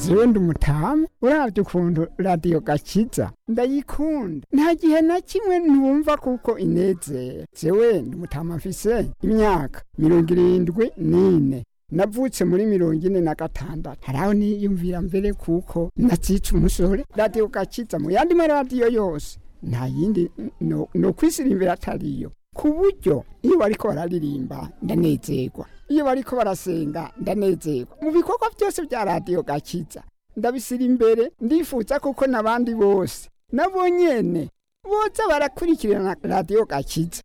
Zewe ndi umutamu, uravye ukuntu Radiyo Gakiza ndayikunda, nta gihe na kimwe ntumva kuko inezera. Zewe ndi umutamu, mfise imyaka 74, navutse muri 46. Haraho niyumvira mbere kuko natsica umusore. Radiyo Gakiza mu yandi maradiyo yose nta yindi no kwisirimbira atariyo, ku buryo iyo bariko bararirimba ndanezerwa, iyo bariko barasenga ndanezerwa. Mu bikorwa byose bya Radiyo Gakiza ndabisira imbere, ndifuza kuko n'abandi bose nabo nyene boza barakurikirana Radiyo Gakiza.